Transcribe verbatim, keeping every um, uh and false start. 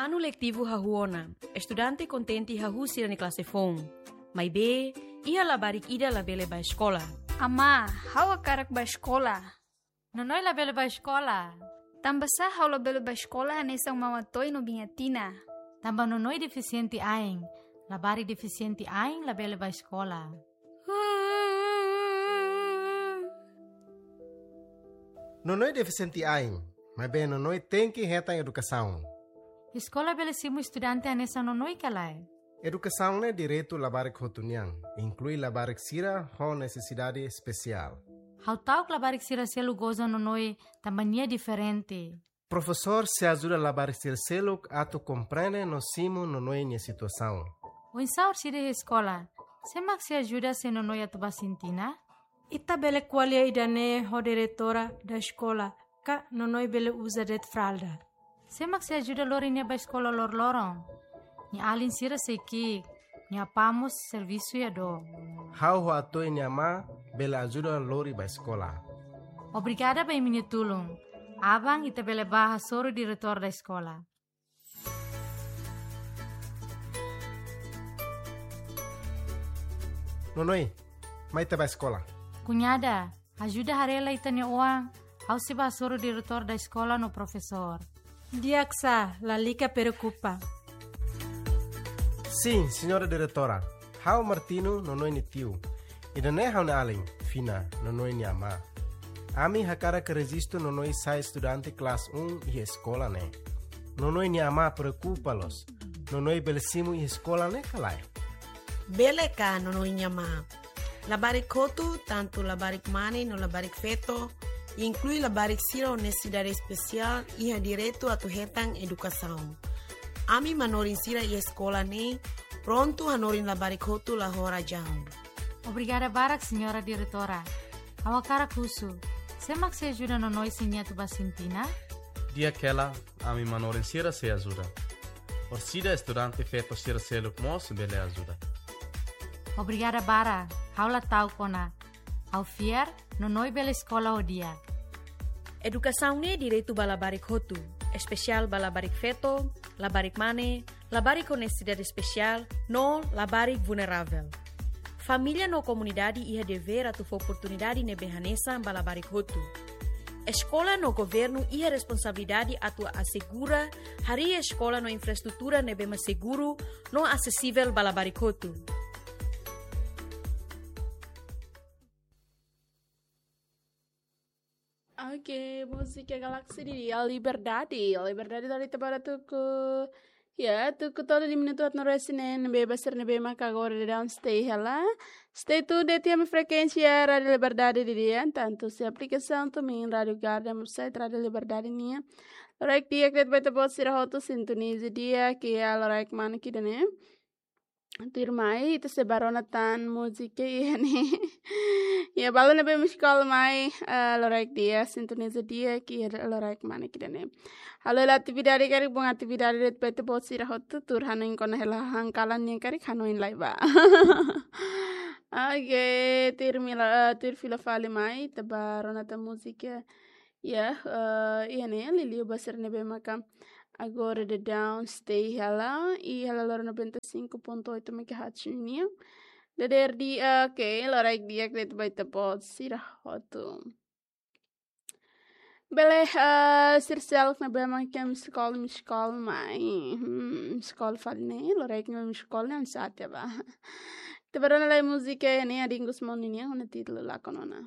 Anu letivu hahú ona, estudante kontente hahú sira-nia klase foun. Maibé, iha labarik ida labele bá eskola. Amá, ha'u hakarak bá eskola. Nonoi labele bá eskola. Tanbasá ha'u labele bá eskola hanesan Mama Toy no Biña Tina? Tanba Nonoi defisiente ain. Labarik defisiente ain labele bá eskola. Nonoi defisiente ain, maibé Nonoi tenke hetan edukasaun. Eskola bele simu estudante hanesan Nonoi ka lae? Edukasaun ne'e direitu labarik hotu nian, inklui labarik sira ho nesesidade espesiál. Ha'u ta'uk labarik sira seluk goza Nonoi tanba nia diferente. Profesór sei ajuda labarik sira seluk atu komprende no simu Nonoi nia situasaun. Oinsá orsida iha eskola? Sé mak sei ajuda se Nonoi atu bá Sintina? Ita bele ko'alia ida-ne'e ho diretora da eskola, ka Nonoi bele uza de'it fralda. Sé mak sei ajuda lori nia bá eskola loroloron? Nia alin sira sei ki'ik, nia apá mós servisu iha dook. Ha'u ho Atoy nia amá bele ajuda lori bá eskola. Obrigada ba imi-nia tulun. Aban ita bele bá hasoru diretór da eskola. Nonoi, mai ita bá eskola. Kuñada, ajuda haree lai ita-nia oan, ha'u sei bá hasoru diretór da eskola no profesór. Di'ak sá, lalika preokupa. Sin, señora diretora. Ha'u Martino, Nonoi nia tiu. Ida-ne'e ha'u-nia alin, Fina, Nonoi nia amá. Ami hakarak rejistu Nonoi sai estudante klase um iha eskola ne'e. Nonoi nia amá preokupa loos. Nonoi bele simu iha eskola ne'e ka lae? Bele ka, Nonoi nia amá? Labarik hotu, tantu labarik mane no labarik feto, inklui labarik sira ho nesesidade espesiál, iha direitu atu hetan edukasaun. Ami manorin sira iha eskola ne'e prontu hanorin labarik hotu la ho razaun. Obrigada barak, señora diretora. Ha'u hakarak husu, sé mak sei ajuda Nonoi se nia atu bá Sintina? Di'ak hela, ami manorin sira sei ajuda. Orsida estudante feto sira seluk mós bele ajuda. Obrigada barak, ha'u la ta'uk ona. Ha'u fiar, Nonoi bele eskola ho di'ak. Edukasaun ne'e direitu ba labarik hotu, espesiál ba labarik feto, labarik mane, labarik ho nesesidade espesiál, no labarik vulneravel. Família no komunidade iha devér atu fó oportunidade ne'ebé hanesan ba labarik hotu. Eskola no governu iha responsabilidade atu asegura harii eskola no infraestrutura ne'ebé mak seguru no asesivel ba labarik hotu. Ok, múzika Galaxy de Dia, Liberdade. Liberdade dari tebara tuku. Ya, tuku tolu minutu haat no resin neen, bebas sira ne'ebé maka agora daudaun stay hela. Stay tuned de'it iha ami-nia frekuénsia Rádio Liberdade de Dia, tantu iha aplikasaun TuneIn, Rádio Garden, website Rádio Liberdade nian. Loraik di'ak de'it ba ita-boot sira hotu sintoniza di'ak iha loraik manas ida-ne'e. Tuirmai, ita sei bá rona tan múzika iha ne'e. Ya, balu ne'ebé mak eskola mai, eh, loraik di'ak, sintoniza di'ak iha loraik manas ida-ne'e. Halo hela atividade karik, bom atividade de'it ba ita-boot sira hotu, tuur hanoin kona hela hahán kalan nian karik hanoin lai bá. Ok, tuir mila, eh, tuir fila fali mai, ita bá rona tan múzika. Ya, eh, iha ne'e, liuliu ba sira ne'ebé maka agora daudaun stay hela, iha hela loron noventa e cinco ponto oito megahertz nian. Dadeer di'ak, ok, loraik di'ak de'it ba ita-boot sira hotu. Bele, eh, sira seluk ne'ebé maka ami eskola, ami eskola mai. Hmm, eskola fali ne'e, loraik ami eskola ne'e, ami sate bá. Ita bá rona lai múzika iha ne'e, Adingus Moni nian, ho nia títulu Lakon Ona.